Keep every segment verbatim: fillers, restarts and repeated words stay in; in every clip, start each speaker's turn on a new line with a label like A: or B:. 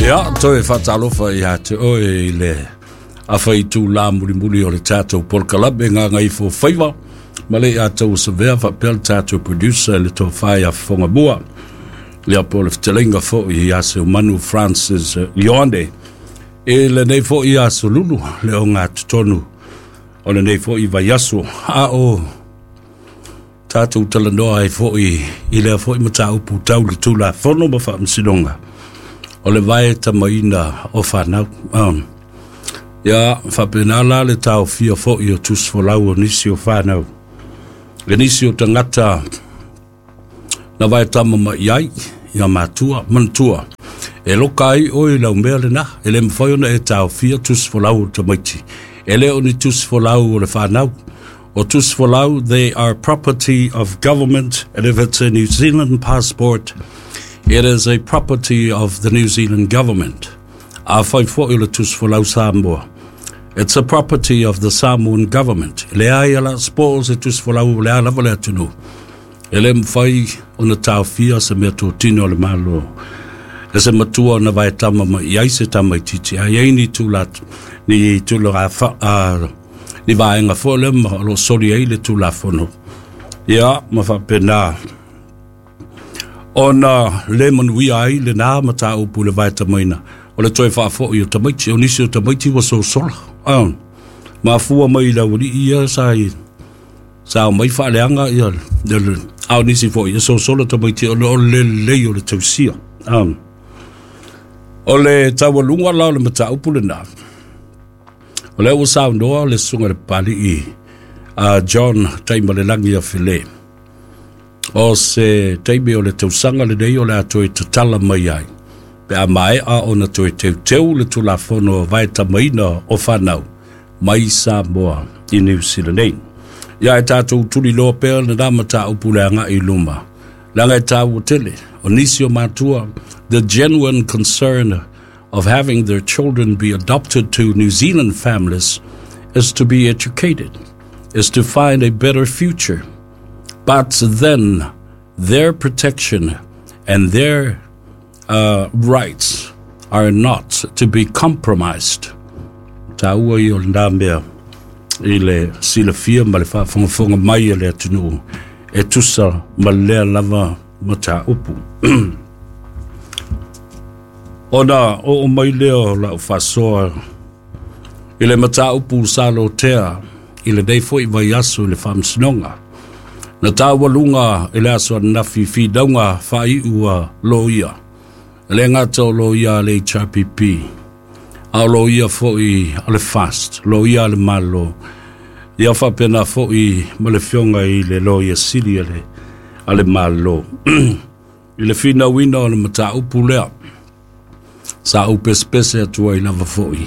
A: Ia, toe faatalofa ia te oe i le afaitulā mulimuli o le tatou polokalame Gagaifo Faiva ma le ia tou savea faapea le tatou producer le tofa ia Fofogamua, ia po o le fetalaiga foi ia Seumanu Francis Ioane i lenei foi aso Lulu le ogatotonu o lenei foi vaiaso, a o tatou talanoa ai foi i lea foi mataupu tau le Tulafono ma Faamasinoga o le vaetamaina o fanau. Um, ia faapena la le taofia foi o tusifolau o nisi o fanau, le nisi o tagata na vaetama mai ai ia matua manatua e loka ai oe i lau mea lena, e le mafai ona e taofia tusifolau o tamaiti. E le o ni tusifolau o le fanau. O tusifolau, they are property of government, and if it's a New Zealand passport, it is a property of the New Zealand government. Afai foi o le tusifolau Samoa, it's a property of the Samoan government. E leai ala spo se tusifolau o le a lava le atunuu. E le mafai ona taofia se mea totino o le Malo e se matua ona vaetama mai ai se tamaitiiti. A i ai ni tula ni tulaga fa, uh, ni vaega foi lea ma o lo o soli ai le Tulafono, ia ma faapena ona le manuia ai lenā mataupu i le vaetamaina o le toe faafoi o tamaiti. O nisi o tamaiti ua sosola, ah, mafua mai i le aualii ia sa i sa omai faaleaga ia, a o nisi foi e sosola tamaiti ona o le lelei o le tausia. Ah. O le taualuga la o le mataupu lenā, o lea ua saunoa le susuga i le Papali'i a John Taimalelagi Afele, o se taimi o le tausaga lenei o le a toe tatala mai ai pe a maea ona toe teuteu le Tulafono Vaetamaina o Fanau mai Samoa i Niu Sila nei. Ia e tatou tuliloa pea lenā mataupu le agai i luma, leaga e taua tele o nisi o matua. The genuine concern of having their children be adopted to New Zealand families is to be educated, is to find a better future. But then their protection and their uh, rights are not to be compromised. Taua ia o lenā mea i le silafia ma le faafogafoga mai a le atunuu e tusa ma lea lava mataupu. Ona oo mai lea o lau faasoa i le mataupu sa lotea i lenei foi vaiaso i le Faamasinoga na taualuga i le aso ananafi finauga faaiu a loia. E le gata o loia a le H R P P, a o loia foi a le FAST, loia a le Malo, ia faapena foi ma le afioga i le Loia Sili a le, a le Malo i le finauina o le mataupu lea sa ou pesepese atu ai lava foi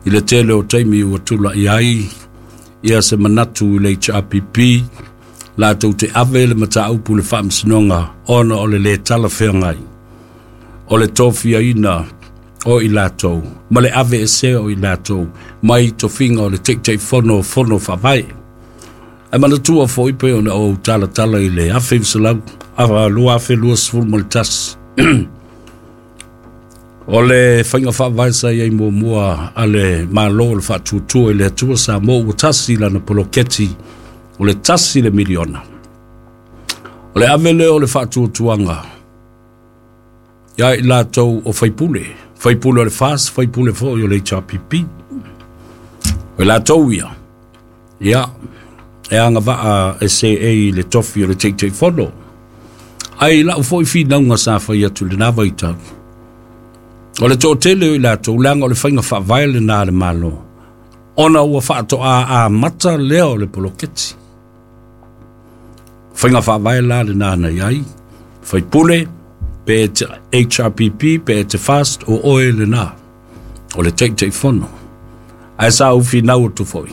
A: i le tele o taimi ua tula'i ai ia se manatu i le H R P P latou te ave le mataupu i le Faamasinoga ona o le lē talafeagai o le tofiaina o i latou ma le ave esea o i latou mai tofiga o le Taitaifono o Fono Faavae. Ae manatua foi pei ona ou talatala i le afe iva selau lua afe luasefulu ma le tasi, o le faiga faavae sa iai muamua a le Malo o le Faatuatua i le Atua Samoa Ua Tasi lana poloketi o le tasi le miliona. O le ave lea o le faatuatuaga ia i latou o faipule, faipule o le FAST, faipule foi o le H R P P. O i latou ia, ia e agavaa e seei i le tofi o le Taitaifono. Ae i lau foi finauga sa fai atu i lenā vaitau, o le toatele o i latou, leaga o le faiga faavae lenā a le Malo, ona ua faatoa amata lea o le poloketi. Faiga faavae la lenā na i ai, faipule, pe te H R P P, pe te FAST, o oe lenā, o le Taitaifono. Ae sa ou finau atu foi,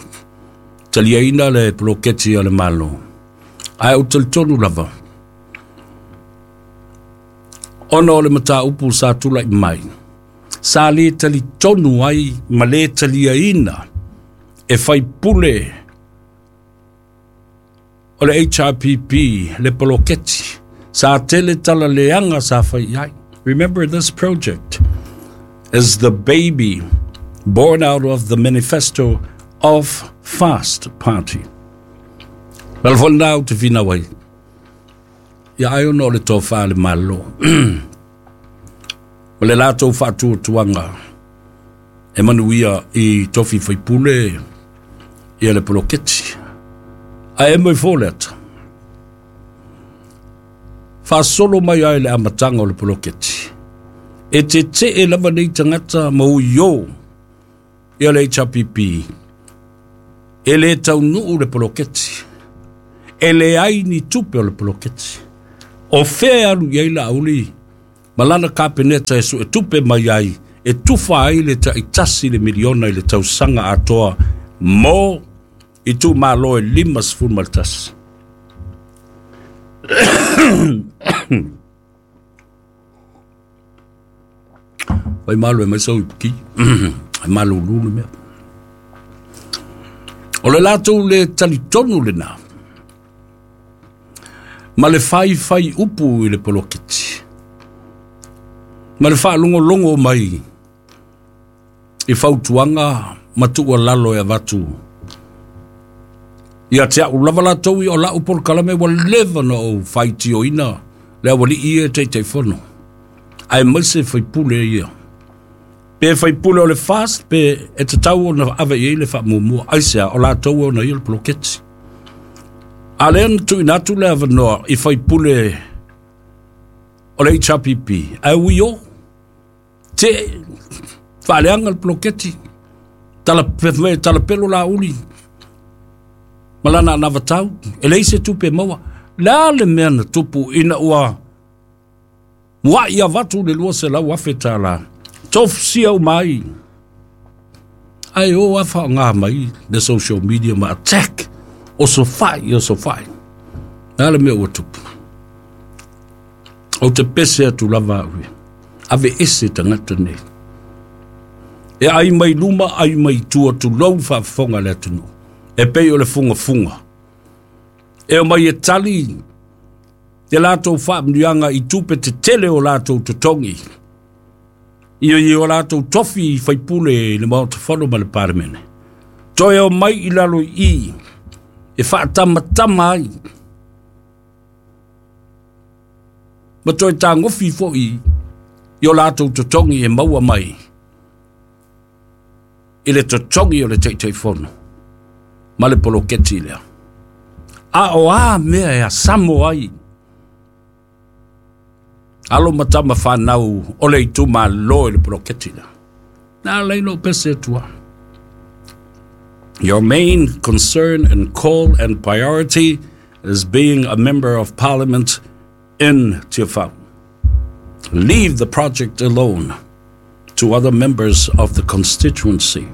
A: taliaina le poloketi a le Malo. Ae ou talitonu lava, ona o le mataupu sa tula'i mai, sa lē talitonu ai ma lē taliaina e faipule o le H R P P le poloketi. Sa tele talaleaga sa fai ai. Remember this project is the baby born out of the manifesto of Fast Party. Well, for now, te whina wai. Ia ai ono o le tōwha le malo. O le lātou whaatuatuanga e manuia i tofi whaipule ia le poloketi. A e moi fōle ata. Whaasolo mai ai le amatanga o le poloketi. E te te e lava nei tangata mau yo ia le H P P. E le taunuu le poloketi. E le ai ni tupe o le poloketi. O whea alu iai la auli malana kapeneta e su e tupe mai ai e tufa ai le taitasi le miliona i le tausanga atoa mo i tu malo e lima sefulu ma le tasi. Wai malo e mai sau i puki. Ai malo lulu mea. O le lātou le talitonu le nā. Ma le fai fai upu i le poloketi. Ma le whaalongolongo mai i fautuanga matua lalo e avatu. Ia te au lava lātou i o lau polokalame wa leva na o whaitio ina le awali i e teitei fono. Ae mai se whaipule ia. Pe whaipule o le fast, pe e te tau o na ave i le whaamumua. Aisea o lātou o na ia le poloketi. A lea na tuinatu le awanoa i whaipule o le H P P. Ai ui o, te whaaleanga le poloketi, tala, tala pelo la uli, malana anavatau, e leise tupe maua. La le mea na tupu ina ua muai avatu le lua se lau afe tāla. Tofusia o mai. Ai o afa ngā mai le social media ma attack. O so fai, o so fai. Nā le mea ua tupu. O te pese atu lava ui. Ave ese tangata nei. E ai mai luma, ai mai tua tu lau whaafonga le atunu. E pei o le funga funga. E o mai e tali te lātou whaamnuianga i tupe te tele o lātou totongi. I o i o lātou tofi i whaipule i le maota whano ma le paremene. Toe o mai i lalo i e whaatamatama ai. Ma toe tāngofi fo i i o lātou totongi e maua mai. I le totongi o le teitei fono. Ma le poloketi lea. A o a mea e a samo ai. Alo matama whanau o le itu malo i le poloketi lea. Nā leilo pese atua. Your main concern and call and priority is being a member of parliament in Tiafau. Leave the project alone to other members of the constituency.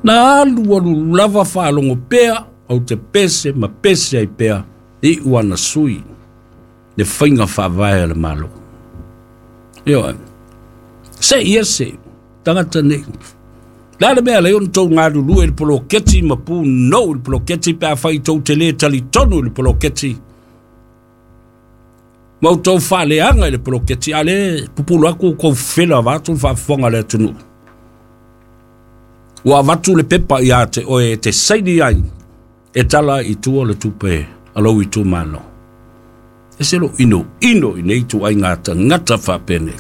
A: Nā alu alu lava whaalongo pea au te pese ma pese ai pea i uana sui le whainga whaavae le malo. Io, se ia se, tangata nei. La le mea leo tau ngā lulu e le poloketi ma pū no le poloketi pe a whai tau te le tali tonu le poloketi. Mau tau whaaleanga i le poloketi a le pupulu aku kou whela wātu whaafonga le atunu. Ua watu le pepa i a te oe te saini ai e tala i tua le tupe alau i tu malo. E selo ino ino i nei tu ai ngata ngata whapene.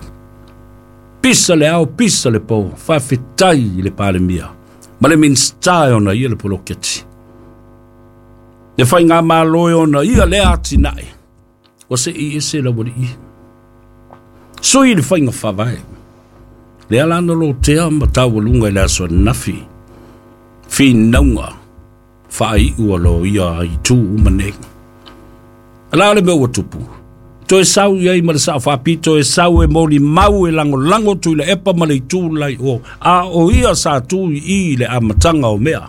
A: Pisa le ao, pisa le pau, whawhetai i le palemia. Ma le minsta e ona ia le poloketi. Le whai ngā mālo e ona ia le ati nae. O se i ese la wali i. Sui le whai ngā whawai. Le alana lo tea matau lunga i le aso nafi. Whinaunga whai ua lo ia i tū umane. Ala le mea ua tupu. Toe sau iai ma le sao whapito e sau e moli mau e lango lango tu i le epa ma le itu lai o. A o ia sa tu i le amatanga o mea.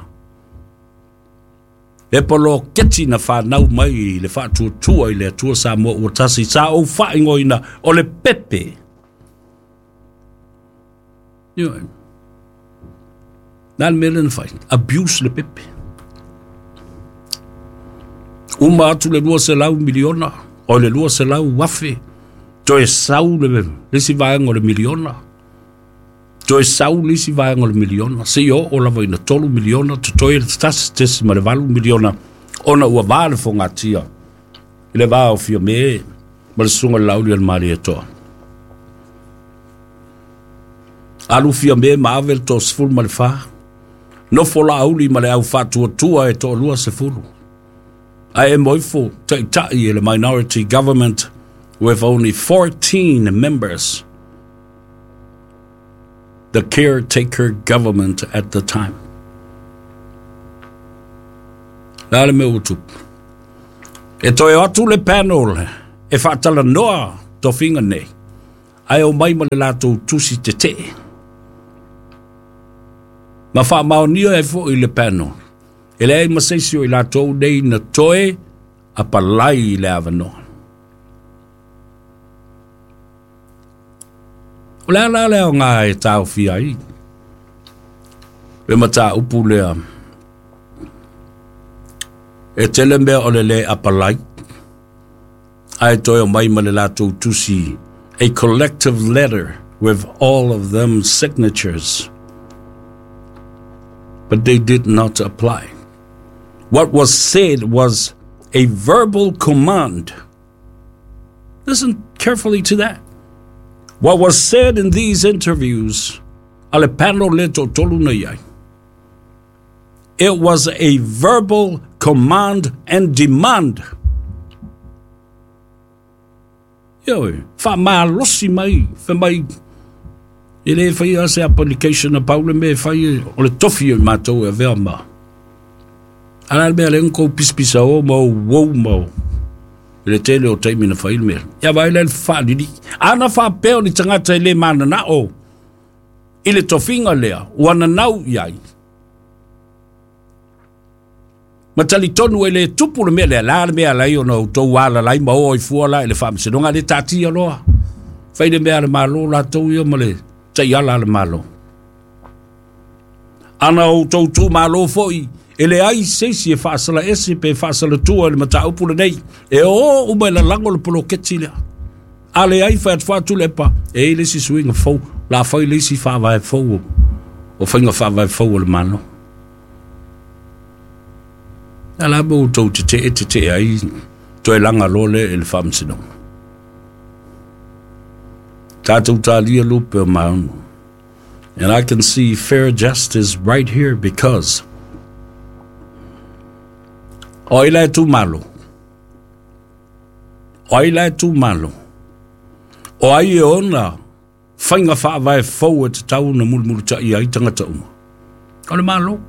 A: E polo keti na whanau mai i le whaatuatua i le atua sa mua ua tasi sa o whaingoina o le pepe. Io, nā le mea lena whai. Abuse le pepe. Uma atu le lua se lau miliona. O le lua se lau wafe. Toe sau le lesi vaenga o le miliona. Toe sau le isi vaega o le miliona, seia oo lava ina tolu miliona, totoe le tasi tesi ma le valu miliona, ona ua va le fogatia i le va o Fiame ma le susuga i le Lauli o le Malietoa. Alu Fiame ma ave le toasefulu ma le fa, nofo Laauli ma le au faatuatua e toalua sefulu. Ae mo ifo taitai e le minority government with only fourteen members. The caretaker government at the time. La le mea ua tupu. E toe o atu le panel e faatalanoa tofiga nei, ae o mai ma le latou tusi tetee. Ma faamaonia ai foʻi le panel, e leai ma se isi o i latou nei na toe apalai i le avanoa. O le ala lea o ngā e taofia ai le mataupu lea, e tele mea o le lē apalai, ae toe o mai ma le latou tusi, a collective letter with all of them signatures. But they did not apply. What was said was a verbal command. Listen carefully to that. What was said in these interviews, a le panel le toatolu na i ai, it was a verbal command and demand. Ioe, faamalosi mai, fai mai, e lē faia se application a pau le mea e fai o le tofi o i matou e avea ma. A la le mea lea na kou pisapisa o ma ou uou ma o i le tele o taimi na fai le mea. Ia vaai la i le faalili. Ana faapea o ni tagata e lē mananao i le tofiga lea, ua nanau i ai. Ma talitonu e lē tupu le mea lea, la le mea alai ona outou alalai ma o ai fua la i le faamasinoga le taatia loa. Fai le mea a le Malo latou ia ma le taiala a le Malo. Ana outou tumālō foʻi, e leai se isi e faasalaese pe faasalatua i le mataupu lenei, e o uma e lalago le poloketi lea. A leai fai atu atu le epa, e i ai le isi suiga fou, la fai le isi faavae fou o faiga faavae fou o le Malo. A la mo outou tetee tetee ai toe laga loa lea i le faamasinoga. Tatou talia lupe o maunu. And I can see fair justice right here because o ai la e tumalo? O ai la e tumalo? O ai e ona faiga faavae fou e tatau ona mulimulitaia ai tagata uma? O le Malo.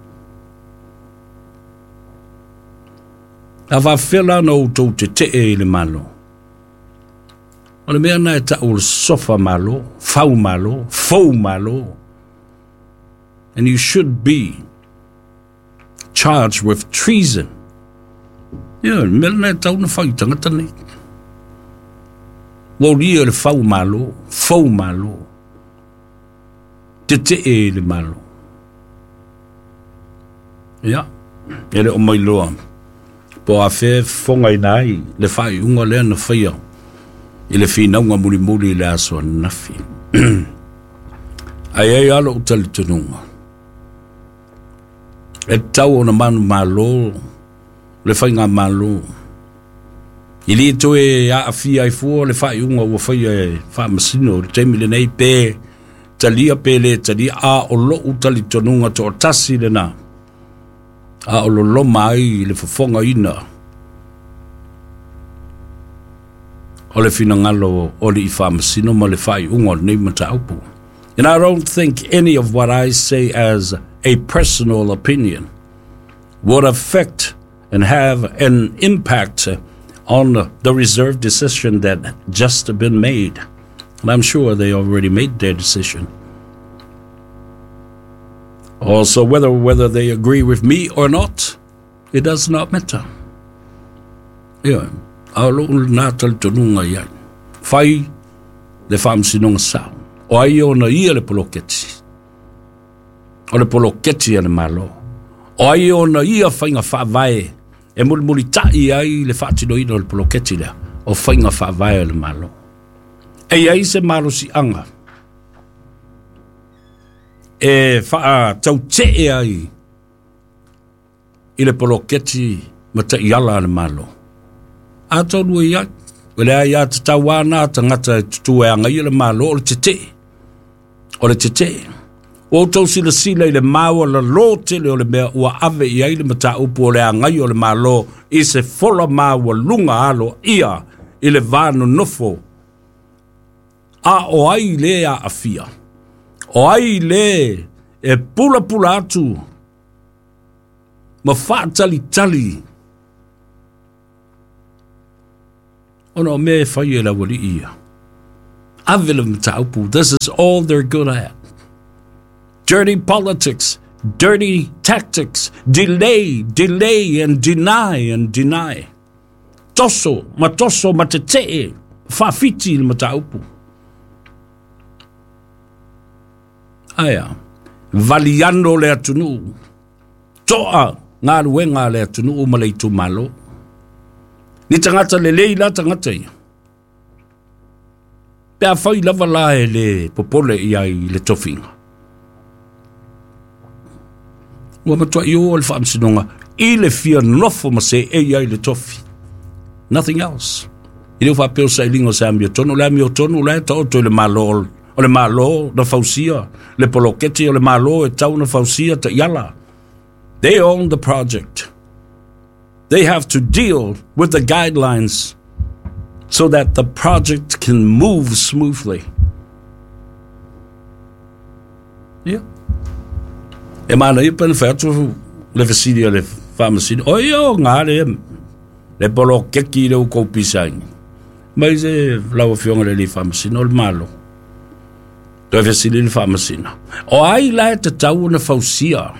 A: A faafefea la ona outou tetee i le Malo? O le mea na e tau o le sofa Malo, fau Malo, fou Malo. And you should be charged with treason. Ia, le mea lena e tatau ona fai i tagata nei. Ua olia le fau Malo, fou Malo, tetee i le Malo. Ia, e le o mailoa po o afea e fofogaina ai le faaiuga lea na faia i le finauga mulimuli i le aso ananafi. Ae ai lava lou talitonuga, e tatau ona manumalo le faigamalo i lē toe aafia ai fua le faaiuga ua faia e faamasino i le taimi lenei, pe talia pe lē talia, a o lou talitonuga toatasi lenā, a o loloma ai le fofogaina o le finagalo o alii faamasino ma le faaiuga o lenei mataupu. And I don't think any of what I say as a personal opinion would affect and have an impact on the reserve decision that just been made. And I'm sure they already made their decision. Also, whether whether they agree with me or not, it does not matter. Ia, a o lou lena talitonuga i ai, fai le faamasinoga sao. O ai ona ia le poloketi? O le poloketi a le Malo. O ai ona ia faiga faavae e mulimulitaʻi ai le faatinoina o le poloketi lea? O faiga faavae a le Malo. E i ai se malosiaga E faatautee ai i le poloketi ma taiala a le Malo. Atonu e i ai, o le ai a tatau ana tagata e tutū e agaia le Malo o le tetee. O le tetee. Ua outou silasila i le maualalō tele o le mea ua ave i ai le mataupu o le agai o le Malo i se fola maualuga aloaia i le va nonofo. A o ai lē aafia? O ai lē e pulapula atu ma faatalitali ona o mea e fai e le aualii ia. Ave le mataupu. This is all they're good at. Dirty politics, dirty tactics, delay, delay and deny and deny. Toso, ma toso, ma tetee, faafiti le mataupu. Aia, valiano le atunuu, toa galuega a le atunuu ma le itumalo. Ni tagata lelei la tagata ia. Pe afai lava la e le popole i ai i le tofiga. Ua matuai o le faamasinoga i le fia nofo ma seei ai le tofi. Nothing else. I le faapea o sailiga o se amiotonu, le amiotonu la e taoto i le Malo, o le Malo na fausia, le poloketi o le Malo e tau na fausia taiala. They own the project. They have to deal with the guidelines so that the project can move smoothly. Ia. E manaia pe na fai atu le fesili a le faamasino, o ia o gā le, le poloketi i le ukou pisaina. Mai se lau afioga le alii faamasino o le Malo. Toe fesili le faamasino. O ai la e tatau ona fausia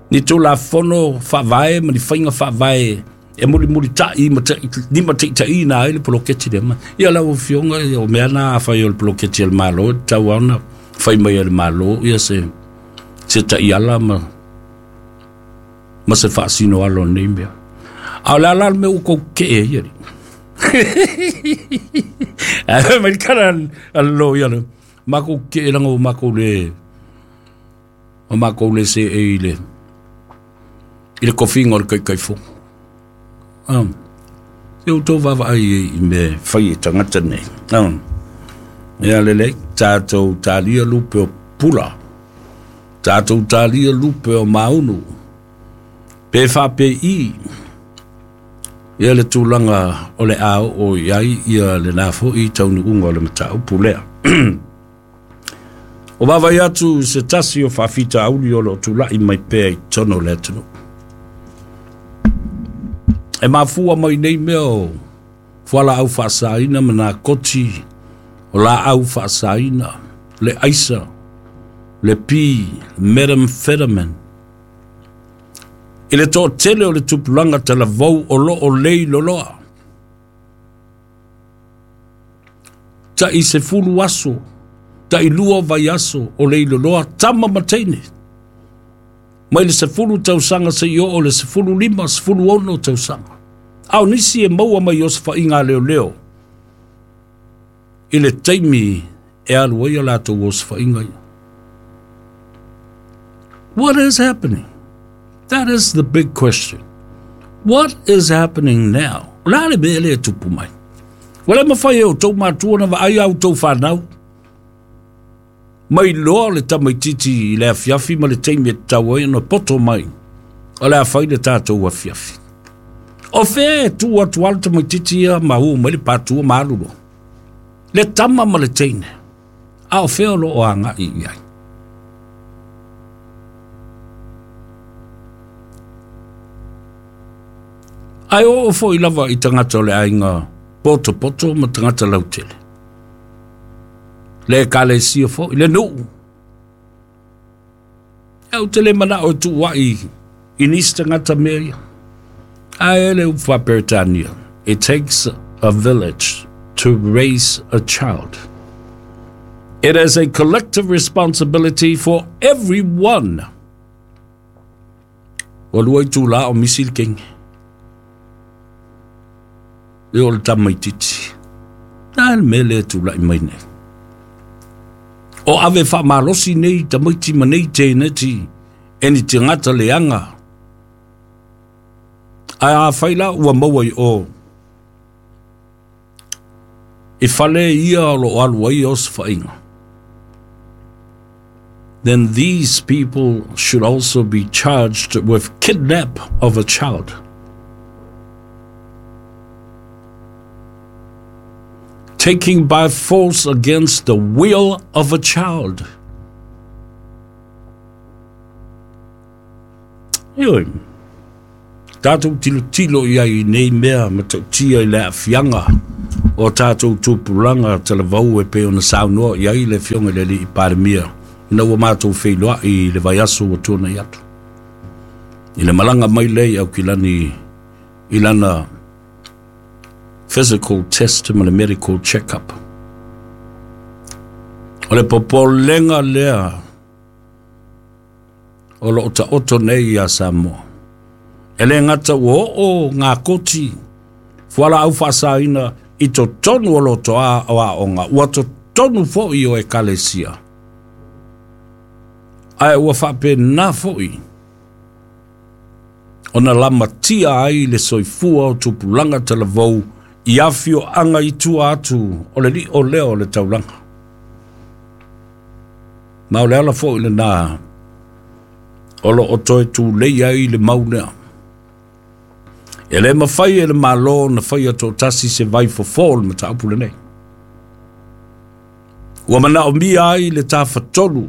A: ni tulafono faavae ma ni faiga faavae e mulimulitaʻi ma limataitaʻiina ai le poloketi lea mai. Ia lau afioga o mea na afai o le poloketi a le Malo e tatau ona fai mai e le Malo ia se se taiala ma ma se faasino alo o lenei mea. A o le a la le mea ua kou kee ai alii. Ae mai le kala a le loia le makou kee laga ua makou le ua makou le seei i le i le kofiga o le taitaifono. Um, se outou vaavaai i mea fai e tagata nei. Um, ia lelei, tatou talia lupe o pula, tatou talia lupe o maunu, pe faapei ia le tulaga o le a oo i ai ia lena foʻi taunuuga o le mataupu lea. O vaavaai atu se tasi o faafitauli o loo tulaʻi mai pea i totonu o le atunuu. E mafua mai nei mea o fualaau faasaina ma nakoti, o laau faasaina, le aisa, le pi, methamphetamine. I le toatele o le tupulaga talavou o loo lei loloa. Taʻi sefulu aso, taʻi lua vaiaso o lei loloa tama ma teine. Mai le sefulu tausaga seia oo le sefulu lima, sefulu ono tausaga. A o nisi e maua mai o se faaiga leoleo i le taimi e alu ai a latou osofaiga ia. What is happening? That is the big question. What is happening now? O le a le mea lea e tupu mai? Ua le mafai e outou matua ona vaai a outou fanau mai loa le tamaititi i le afiafi ma le taimi e tatau ai ona poto mai o le a fai le tatou afiafi. O fea e tuu atu a le tamaititi ia ma ū mai le patua ma alu loa. Le tama ma le teine, a o fea o loo agaʻi i ai. Ae oo foʻi lava i tagata o le aiga potopoto ma tagata lautele. Le ekalesia foʻi, le nuu. E ou te le manao e tuuaʻi i nisi tagata mea ia. Ae le upu faaperetania, it takes a village to raise a child. It is a collective responsibility for everyone. Ua lua itulā o misi le kenge. E o le tamaititi. A le mea lea e tulaʻi mai nei. O ave faamalosi nei tamaiti ma nei teineti e ni tagata leaga. Ae afai la ua maua i o i fale ia o loo alu ai osofaiga, then these people should also be charged with kidnap of a child. Taking by force against the will of a child. Ioe, tātou tilotilo i ai nei mea ma tautia i le aafiaga o tātou tupulaga talavou e pei ona saunoa i ai le Afioga i le Alii Palemia ina ua matou feiloai i le vaiaso ua tuanai atu i le malaga mai lea i Aukilani i lana physical test ma le medical check-up. O le popolega lea o loo taoto nei iā Samoa. E lē gata ua oo ngā koti fualaau faasaina i totonu o lotoā o aoga, ua totonu foʻi o ekalesia, ae ua faapenā foʻi ona lamatia ai le soifua o tupulaga talavou i afioaga i tua atu o le liʻo lea o le taulaga. Ma o le ala foʻi lenā o loo toe tulei ai le mau lea. E lē mafai e le Mālō na faia toʻatasi se vai fofō o le mataupu lenei. Ua manaomia ai le tafatolu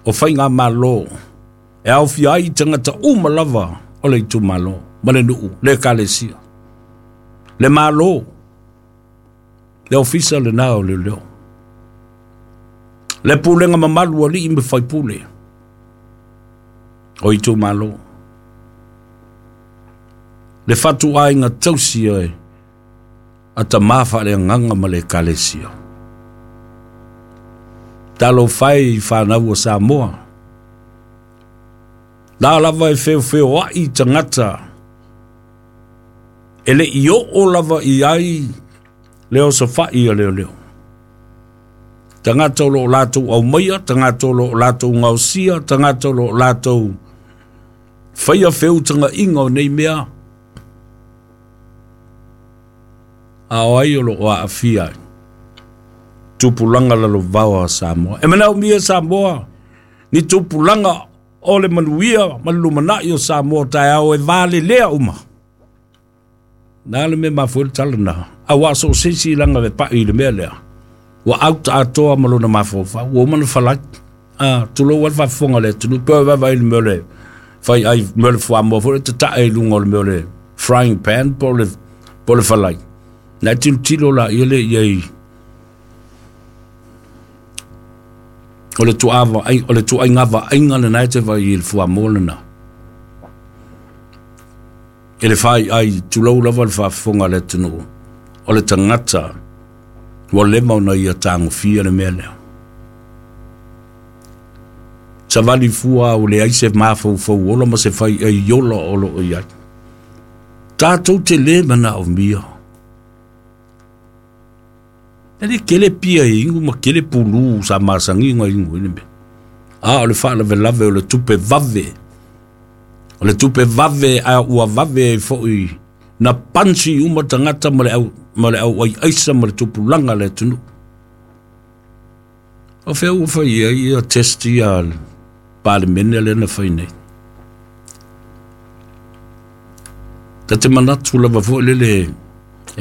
A: o faiga Mālō e aofia ai tagata uma lava o le itumālō ma le nuu, le ekalesia, le Mālō, le ofisa lenā o leoleo, le pulega mamalu alii ma faipule o itumālō, le fatuaiga tausi e a tamā faaleagaga ma le ekalesia. Talofa e i fanau o Samoa. La lava e feofeoaʻi tagata e leʻi oo lava i ai le osofaʻi a leoleo. Tagata o loo latou aumaia, tagata o loo latou gaosia, tagata o loo latou faia feutagaʻiga o nei mea, a o ai o loo aafia ai tupulaga lalovaoa a Samoa. E manaomia Samoa ni tupulaga o le manuia ma le lumanaʻi o Samoa taeao e valelea uma. Na le mea mafua le tala na auā so o se isi laga le paʻi i le mea lea ua auta atoa ma lona mafaufau ua uma na falai. A tulou ai le faafofoga le atunuu pe o vaavaai le mea o le fai ai mea o le fuamoa foi le tataʻe i luga o le mea o le frying pan po le po le falai na e tilotilo laia le iai o le tuava ai o le tuaiga vaaiga lenā e te vaai i le fuamoa lenā e le fai ai. Tulou lava le faafofoga le atunuu o le tagata ua leva ona ia tagofia le mea lea savali fua o leai se mafaufau ola ma se fai ai ola o loo i ai tatou te lē manaomia e le kele pia e igu ma kele pulū sa masagiga igu i le mea a o le faalavelave o le tupe vave o le tupe vave a ua vave ai foʻi na pansi uma tagata ma le au ma le au ai aisa ma le tupulaga le atunuu o fea ua fai ai ia test ia Palemene lea na fai nei. Ta te manatu lava foʻi lele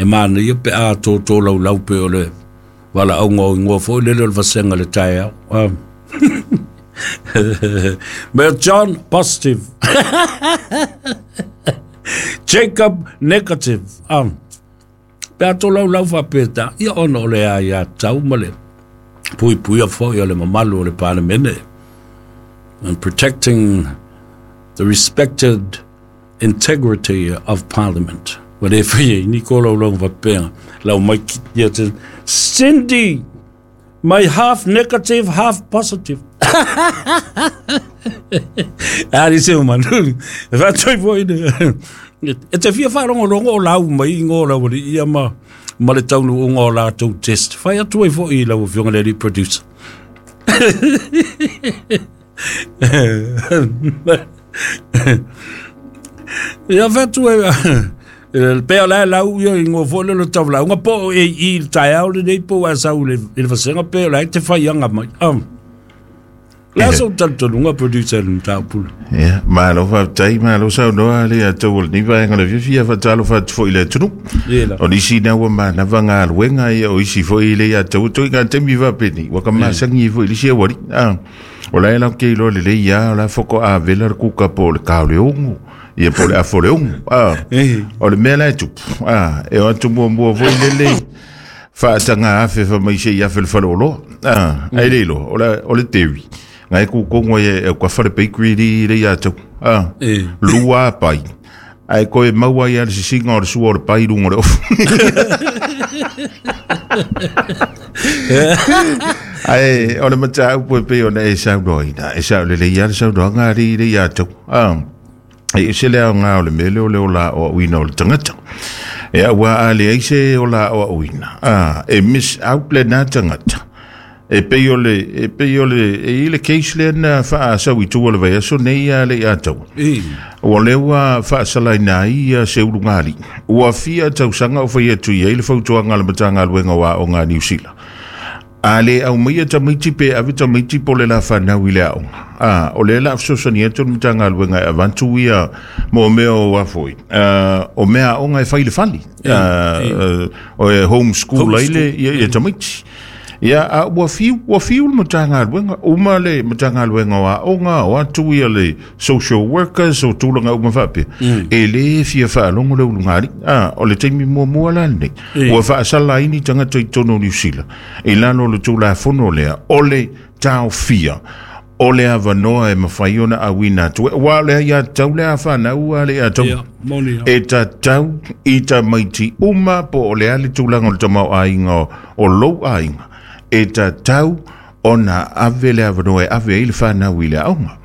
A: e manaia pe a tōtō laulau pe o le valaauga o igoa foʻi lele o le vasega le taeao. Um. Mayor John positive, Jacob negative. Um. Pe a tō laulau faapeta ia ona o le aiā tau ma le puipuia foʻi o le mamalu o le Palemene and protecting the respected integrity of Parliament. Ua lē faia i ni ko laulauga faapea lau mai ia te Cindy, my half negative, half positive. Ali se manu e faatoi foʻi le e te fia faalogologo o lau mai igo lau aliʻi ia ma Ma le taunuuga o latou test. Fai atu ai foʻi i lau afioga le alii producer. Ia fai atu ai pe o la lau ia ingoa foʻi le le taulauga po o e i le taeao lenei po ua sau i le vasega pe o la e te faiaga mai. Le aso talitonuga producer le mataupu.
B: Ia, malo faafetai, malo saunoa le atou o lenei vaega o le fiafia faatalofa atu foʻi i le atunuu. O nisi na ua manava galuega ia o isi foʻi le atou toiga taimi faapeni ua ka masagi foʻi i le isi auali. O la e latou iloa lelei lava o la faatoa vela le kuka po o le kao le ogo ia po o le afo le ogo. O le mea la e tupu, e o atu muamua foi lele faataga afe famai sei afe le faleoloa. Ae le iloa o le o le tevi ngai kukongo e e ka fale bakery li le ia tau. Lua pai ai koe maua ia le sisiga o le sua o le pai luga o le ofu. Ae o le mataupu e pei ona e saunoaina e saolelei lava le saunoaga alii le ia tau. E ese le aoga o le mea lea o le ola aoaoina o le tagata. E aua a leai se ola aoaoina, e miss out lena tagata. E pei o le e pei o le e i le case lea na faasau i tua o le vaiaso nei a le ia tau. Ua lea ua faasalaina ai ia se ulugalii. Ua fia tausaga o fai atu i ai le fautuaga a le Matagaluega o Aoga a Niu Sila. A le aumaia tamaiti pe ave tamaiti po o le lafanau i le aoga. A, o lea la fesoasoani atu le Matagaluega e avatu ia mo mea o afoi. O mea aoga e fai i le fale. O e homeschool ai le ia, ia tamaiti. Ia, a ua fiu, ua fiu le Matagaluega. Uma le Matagaluega o Aoga, o atu ia le social workers, o tulaga uma faapea. E le fia faalogo le ulugalii. A, o le taimi muamua la lenei. Ua faasala ai ni tagata i totonu o Niu Sila. I lalo o le Tulafono lea, o le taofia o le avanoa e mafai ona auina atu. Ua o le aiatatau le a fanau a le ia tau. E tatau i tamaiti uma po o le a le tulaga o le tamaoaiga o lou aiga. E tatau ona ave le avanoa e ave ai le fanau i le aoga.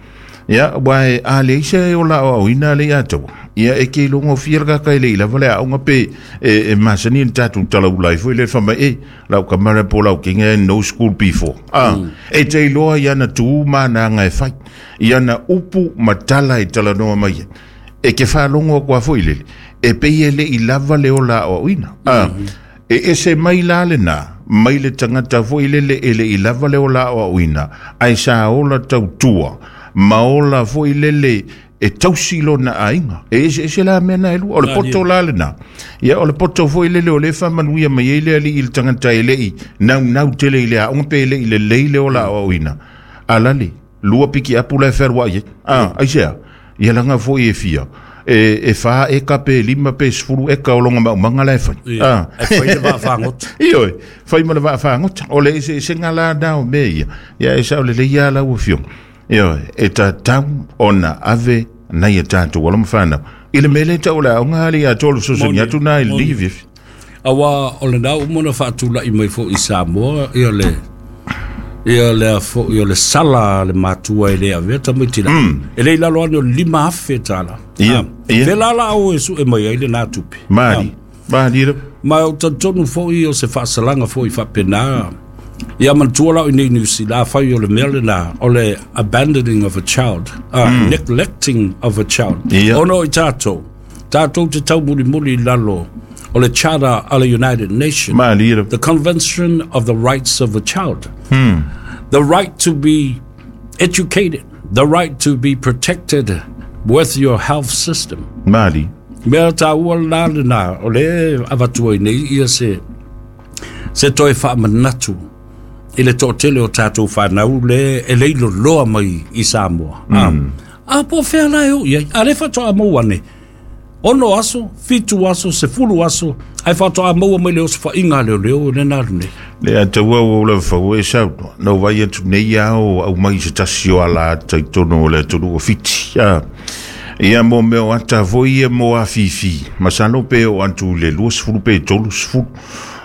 B: Ia, ua e a leai se ola aoaoina le ia tau. Ia, e ke iloga fia le kaka e le i lava le aoga pe e, e masani ni tatou talaula ai foi le fai mai e lau kamara po lau kinga no school before. Ah, mm. E te iloa ia na tu mana e fai. Ia na upu matala e talanoa mai. E ke whalongo kwa foi lele. E pei e le i lava le ola aoaoina. Ah, mm -hmm. E ese mai la le na, mai le tagata foi lele e le i lava le ola aoaoina, ai sa ola tautua, ma ola foi lele e tausi lona aiga. E ese ese la mea na e lua, o le poto la le na. Ia, o le poto foi lele o le whamanuia mai ei le ali i le tagata e le i nau nau tele i le aoga pe e le i le lei le ola aoaoina. Alale, lua piki apu la e wherua ai. Ah, ai sea, ia langa foi e fia. E, e wha eka pe lima pe sefulu eka o longa maumanga la e whai.
A: Ah. E whai le vaawhangota.
B: Ioe, whai ma le vaawhangota. O le ese ese ngā la nao me ia. Ia e sao le leia la ua fionga. Ioe, e tatau ona ave nei e tātou alo ma whanau. I le mele tau le aoga ali a tolu sosoni atu nā i le livi.
A: Awa o le nau umona whaatula i mai fo i Samoa, ia le ia le fo ia le sala le matua e le avea tamaiti la. E le lalo ane o lima afe tala.
B: Ia, ia.
A: Fe la la o e su e mai ai le nā tupe.
B: Mari, mari.
A: Ma o tantonu fo i o se whaasalaga fo i whapena. Ia manatua lau i nei New Zealand, whai o le mea le nā, o le abandoning of a child, uh, mm. neglecting of a child.
B: Ia.
A: Ono i tātou, tātou te tau muri muri lalo, o le Charter a le United Nations.
B: Mari.
A: The Convention of the Rights of the Child. Hmm. The right to be educated, the right to be protected with your health system.
B: Mari.
A: Mea tā ua la le nā, o le avatua i nei ia se, se toe whaamanatu i le to'atele o tātou whanau le e leilo loa mai i Samoa. Mm. A, a po whea la e o iai, a le whatoa mau ane, ono aso, fitu aso, sefulu aso, ai whatoa maua mai le oso whainga leo leo le nā nei.
B: Le a taua o le whau e sau, no vai atu nei ao au mai se tasi o ala ata i tono o le atunu o fiti. A, ia mo meo ata foi ia mo a fifi. Masano pe o antu le lua sefulu pe tolu sefulu.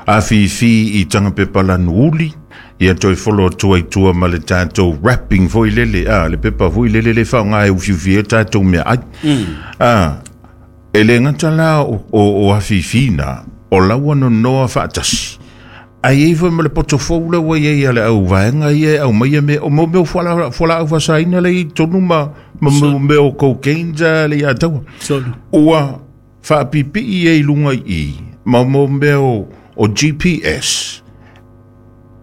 B: A fifi i tanga pepa lanu uli. Ia toi folo tua i tua ma le tātou wrapping foi lele. A, le pepa foi lele le whaonga e ufiufi e tātou mea ai. Mm. A, e le ngata la o, o, o a fifi na. O laua nonoa faatasi ai ei foi ma le potofou le ua iai a le auvaega ia e aumaia mea o mo mea o fualaau faasaina le i tonu ma ma mea o cocaine sa le ia taua ua faapipii ai luga i i ma mo mea o o G P S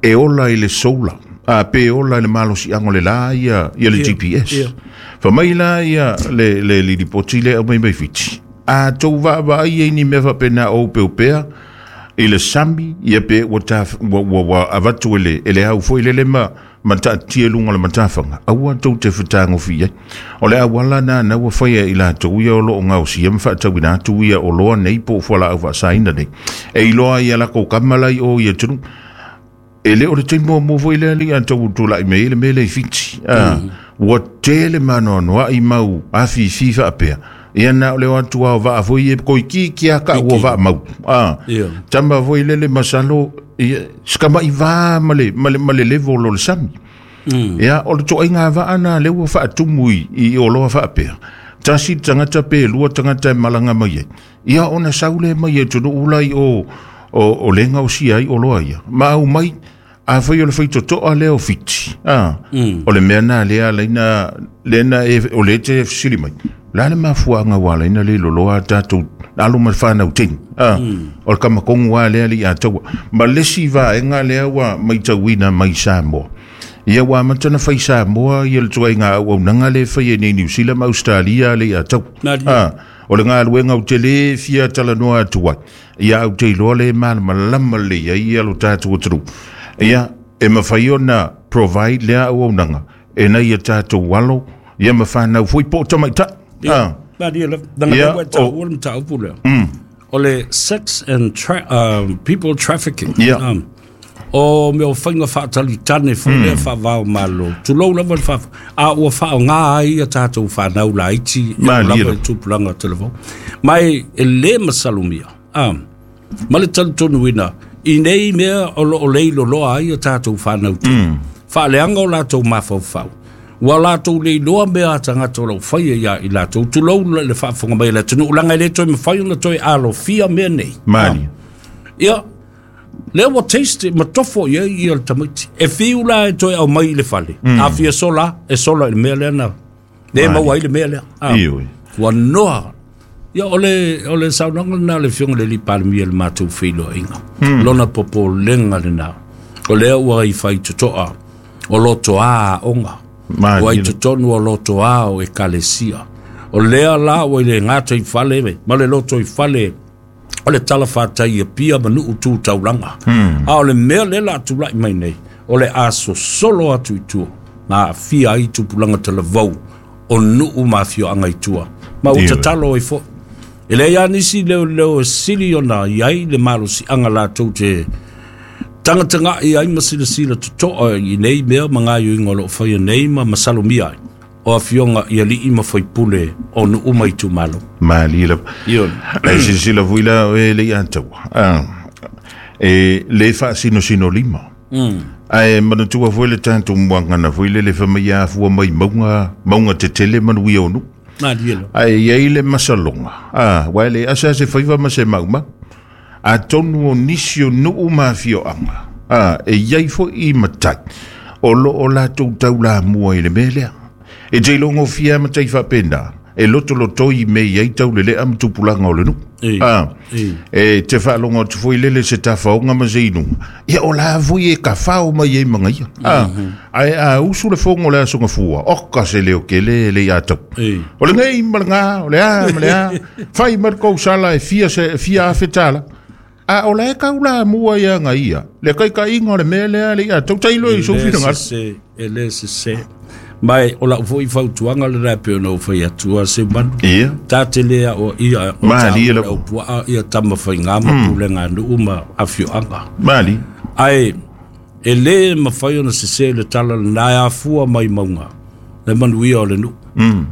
B: e ola i le solar a pe ola i le malosiaga o le lā ia ia le G P S famai la ia le le lipoti le aumai mai Fiti a tou vaavaai ai ni mea faapena o upeupea i le sami ia pe ua ta ua ua avatu e le e le au foi lele ma ma taatia luga o le matafaga aua tou te fetagofi ai o le auala na na ua faia i latou ia o loo gaosia ma faatauina atu ia oloa nei po o fualaau faasaina nei e iloa ia lakou kama lai o ia atunuu e le o le taimi muamua foi lea alii a tou tulai mai ai le mea lea i Fiti ua tele maanoanoa'i mau afifi faapea ia na o le o atu ao vaa foi e koiki a ka ua vaa mau a tama foi lele masalo ia skama'i va ma le ma le ma le level o le sami ia o le toaiga vaa na le ua faatumu i i oloa faapea tasi tagata pe lua tagata e malaga mai ai ia ona sau le mai e atunuu lai o o o le gaosia ai oloa ia ma aumai a fai o le faitotoa lea o Fiti a o le mea na lea alaina lena e o le te fesili mai la le mafuaaga ua alaina le loloa tatou alo ma le fanau teine a o le kamakogu a lea alii ataua ma lesi vaega lea ua maitauina mai Samoa ia ua amata na fai Samoa ia le tuaiga auaunaga le fai e nei Niu Sila ma Australia alii ataua a o le galuega ou te lē fia talanoa atu ai ia au te iloa le malamalama lelei ai ia lo tatou atunuu ia e mafai ona provide lea auaunaga e nai ia tatou alo ia ma fanau foi po o tamaita'i
A: ah
B: ia
A: o le mataupu lea o le sex and tra um, people trafficking
B: yeah.
A: um, o mea o faiga faatalitane foi lea faavao malo tulou lava le faa a ua faaaoga ai ia tatou fanau laiti e lava i tupulaga telefo mai e lē masalomia um, ma le talitonuina i nei mea o loo lei loloa ai ia tatou fanau te faaleaga o latou mafaufau ua latou leiloa mea a tagata o loo faia ia i latou tulou le faafofoga mai le atunuu laga e lē toe mafai ona toe alofia mea nei
B: mali
A: ia lea ua taste ma tofo i ai ia le tamaiti e fiu la e toe aumai i le fale a fia sola e sola i le mea lea na le maua ai le mea lea ua noa ia o le o le saunoaga lena le afioga i le alii Palemia i le matou feiloaiga lona popolega lena o lea ua i faitotoa o lotoā aoga ua i totonu o lotoā o ekalesia o lea la ua i le gata i fale ma le loto i fale o le talafatai e pia ma nuu tu taulaga a o le mea lea la atula'i mai nei o le asosolo atu i tua na aafia ai tupulaga talavou o nuu ma afioaga i tua ma ua tatalo ai fo'i e leai a nisi leoleo e sili ona iai le malosiaga latou te tagataga'i ai ma silasila totoa i nei mea ma gaioiga o loo faia nei ma masalomia ai o afioga i alii ma faipule o nuu ma itumalo
B: mali lava e silasila foi la e le ataua e le faasinosino lima ae manatua foi le tatou muagana foi lele famai afua mai mauga mauga tetele manuia o nuu ae iai le masaloga a ua e le asa se faiva ma se maumau atonu o nisi o nuu ma afioaga a e iai fo'i matai o loo latou taulamua i le mea lea e te ilogofia matai faapena e lotolotoi me iai taulele'a ma tupulaga o le nuu a e te faalogo atu foi lele se tafaoga ma se inuga ia o la foi e kafao mai ai magaia a ae a usu le fogo o le aso gafua oka se leo kele le ia tau o le gei ma le gā o le a ma le a fai ma le kousala e fia se fia afe tala a o la e kaulamua ia gaia le kaikaiga o le mea lea le ia tau tailo i sou finagalo
A: e lē sesē mai o lau foi fautuaga lena e pei ona ou fai atua se manu
B: ia
A: tate lea o ia o
B: mali
A: taua o puaa ia tamafaigā ma pulega nuu ma afioaga
B: mali
A: ae e lē mafai ona sesē le tala lena e afua mai mauga le manuia o le nuu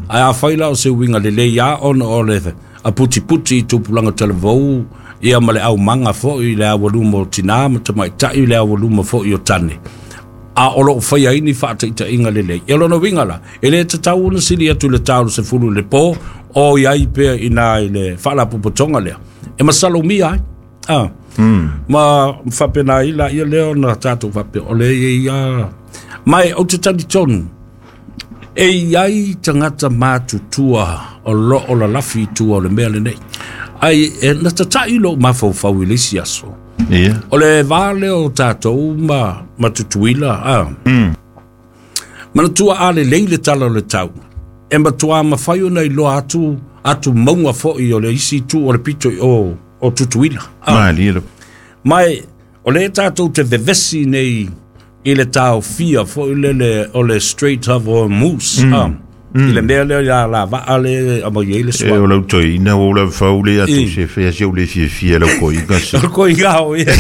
A: ae afai la o se uiga lelei a ona o le aputiputi i tupulaga talavou ia ma le aumaga fo'i le aualuma o tinā ma tamaita'i le aualuma fo'i o tane a o loo faia ai ni faataitaiga lelei ia lona uiga la e lē tatau ona sili atu i le tau sefulu le pō o iai pea i nā i le faalapopotoga lea e masalomia ai Ah. Mm. Ma faapena ai laia lea ona tatou faapea o le ia mai ou te talitonu e iai tagata matutua o loo lalafi i tua o le mea lenei ai e na tataʻi lou mafaufau i le isi aso.
B: Ia.
A: O le vā lea o tatou ma ma Tutuila a.
B: Mm.
A: Manatua a lelei le tala o le tau e matuā mafai ona iloa atu atu mauga foʻi o le isi itu o le pito i o o Tutuila. Ah.
B: Malie le.
A: Mai o le tatou te vevesi nei i le taofia foʻi lele o le Strait of Hormuz.
B: Mm.
A: Ah.
B: Mm.
A: I le mea lea ia la vaa le amai ai le
B: E
A: sua.
B: o lau toeina ua ou lavafau le atu
A: I.
B: se fea se ou le fiafia lau koiga se.
A: O le koiga o ia.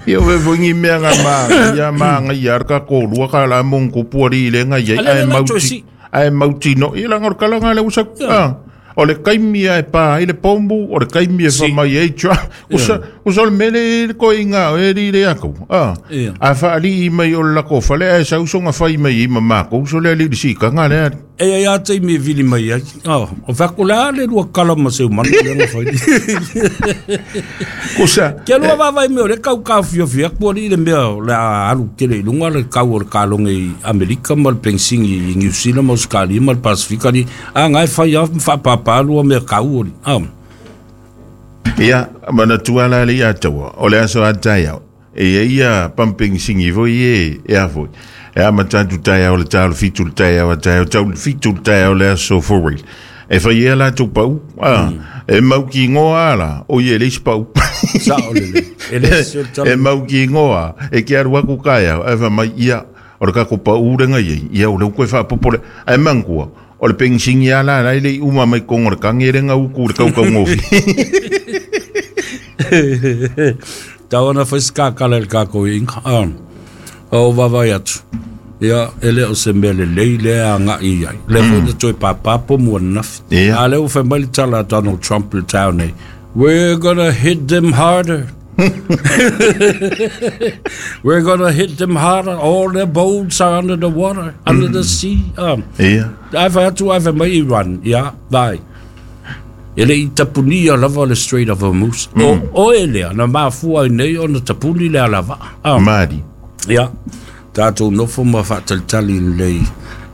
B: Ia o fefoigi mea ga ma ia magaia le kakolua ka la mogokupu alii le gai ai
A: Ale
B: ae
A: le la
B: mauti
A: toesi.
B: ae mautino ia laga o le kalaga le usa
A: Ia.
B: ah. O le kaimi e pa ai le pombu o le kaimi e
A: Si.
B: famai ai chua usa usa o le mele i le koiga o e li le aku ah.
A: Ia.
B: A faalii mai o le lako fale ae sausoga fai mai i ma makou so le alii le sikaga le ali.
A: E ia ia te mi vili mai ai. Oh, o faku la le lua kala ma se umanu le nga fai.
B: Kusa
A: Ke lua vavai mea o le kau ka fiafia ku ali le mea o le a alu tele i lunga le kau o le kalonge i Amerika ma le pensingi i New Zealand ma Australia ma le Pasifika ali. A ngai fai a whaapapa lua mea kau oli. Ah.
B: Ia, manatua la le ia taua, o le aso a taeao. E ia ia pumping singi foi e, e a foi. E a matatu taeao le tau le fitu le taeao a taeao, tau le fitu le taeao le aso for real. E fai ea la tau pau, ah, e mau ki ngoa la, o ie le isi pau.
A: Sa o le le. E le se o le
B: E
A: tala.
B: mau ki ngoa, e ke aru aku kaeao, e fa mai ia, o le kako pau renga iei, ia o le uko e whaapopole, e mangua, o le pengsingi a la, lai le i uma mai kongo le kange renga uku le kaukau ngofi.
A: Tau ona fai skakala le kako i inga. Ah. O vavai atu. Ia, e le o se mea lelei le a ngai ai. Le foi na toe papapo mua nafi.
B: Ia.
A: A le o fai mai le tala a Donald Trump le tau nei. We're gonna hit them harder. We're gonna hit them harder. All their boats are under the water, under the sea. Um,
B: Ia.
A: ai fai atu ai fai mai Iran. Ia, vai. E le i tapunia lava le Strait of Hormuz. O, o e lea, na mafua ai nei ona tapuni le alava. Ah.
B: Mari.
A: Ia, tātou nofo ma whaatalitali lei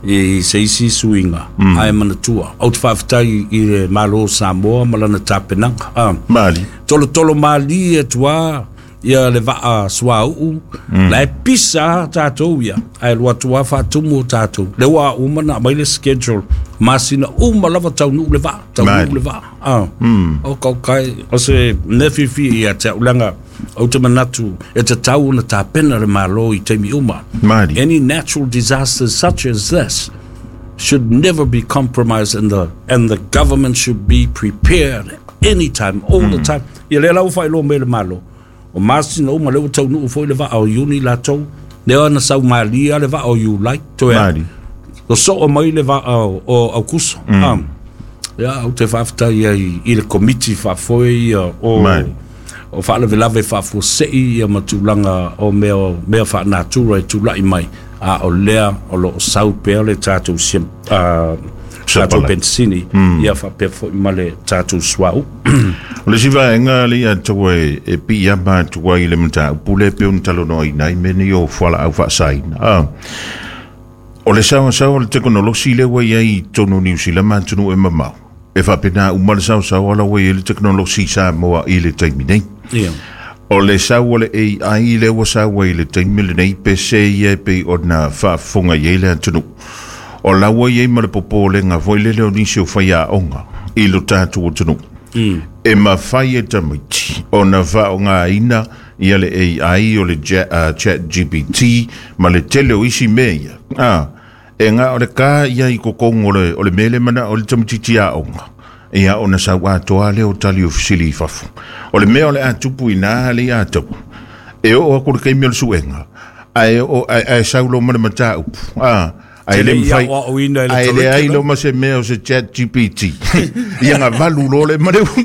A: i se isi suiga, mm. ai manatua. Au te whaafetai i le Malo o Samoa ma lana tapenaga. Ah.
B: Mari.
A: Tolo tolo mali e tua ia le vaa suauu, mm. la e pisa tātou ia, ai lua tua whaatumu o tātou. Le ua uma na mai le schedule, masina uma lava taunuu le vaa, taunuu
B: Mali.
A: le vaa. Ah. Mm. O kau kai, o se nefifi ia te ulanga, o te manatu, e te tau na tāpena le malo i teimi uma.
B: Mari.
A: Any natural disasters such as this should never be compromised, and the, and the government should be prepared anytime, all mm. the time. Ia le lau whai lo me le malo. O masina uma le ua taunuu foi le vaa o Iuni latou. Lea na sau malia le vaa o Iulai. Toe a-
B: Mari.
A: Lo soo mai le vaa o, o Aukuso. Mm. Um, ia, au te whaafetai ai i le komiti whaafoe ia o,
B: Mari.
A: o whaalavelave whaafuasei ia matulanga o mea, mea whaanatura e tula'i mai. A o lea o lo o sau pea le tātou sim, uh, tātou
B: Sapala.
A: pensini mm. ia whaapea foi ma le tātou suau.
B: O le siva enga le ia taua e, e pi ama atua i le mataupu le pe ona talanoaina ai mea nei o fualaau faasaina. Ah. O le saosaoa o le tekonolosi lea ua iai i totonu o Niu Sila ma atunuu e mamao. E faapena uma le saosaoa la ua iai le tekonolosi i Samoa i le taimi nei.
A: Ia.
B: O le sau o le A I lea ua saua i le taimi lenei pe se ia e pei ona faafofoga i ai le atunuu. O la ua iai ma le popolega foi lele o nisi o faiaoga i lo tatou atunuu.
A: Mm.
B: E mafai e tamaiti ona faaaogāina ia le A I o le ja, uh, chat G P T ma le tele o isi mea ia. Ah, e ngā o le kā ia i kokongo o le, o le mele mana o le tamatiti aoga. Ia ona sau atoa le o tali o fisili i fafo. O le mea o le atupu i nā le ia tau. E o aku le kaimi o le suenga. Ae o ae, ae sau lo mana mataupu. Ah, ae le
A: Te le ia
B: mawhai.
A: o au ina i le
B: Ae le ai
A: curriculum.
B: lo ma se mea o se chat G P T. Ia ngā valu lo le mare ulu.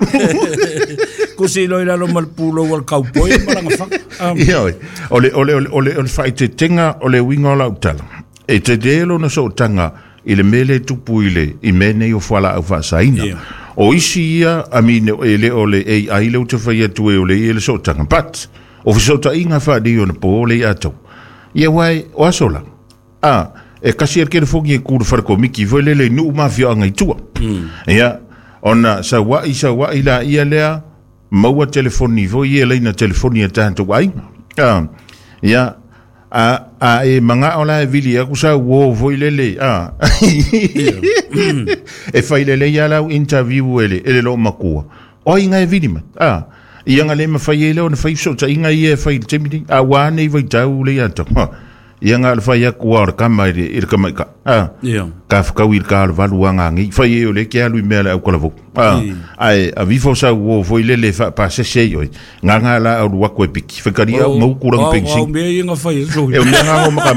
A: Kusi loi lalo ma le pūlo o le kaupoi ma langa whaka. Um,
B: Ia oi. O le, o le, o le, o le, o le whaitetenga o le uinga o lau tala. E te te lo na sootanga i le mele tupu i le i mea nei o fualaau faasaina.
A: Ia.
B: O isi ia, I mean, e le o le A I le o te whai atu e o le ia le sootanga. But, o whisota inga whaadi o na po le ia tau. Ia wai, o aso la. Ah, e kasi er kere foki e kura whareko miki, foi lele nuu mawhia anga i tua. Ia, ona sa wai, sa wai la ia lea, maua telefoni foi ia leina telefoni a tātou ainga. Ah, ia, a a e manga ola e vili aku sa wo foi lele a e fai lele ia lau interview ele ele lo makua o inga e vili ma a ia nga le ma fai ele ona fai so ta inga ia fai te mini a wa nei vai tau le ia to ia nga le fai aku o kama ile ile kama ka a ka whakau i ka le valu anga ngi fai e o le ke alu i mea le au kala vo a ai a vifo sa wo foi lele fa pa se se oi nga nga la au wako e piki whakari au ngau kurang
A: Au
B: pensi
A: mea ia nga whai e
B: e o mea nga ngo maka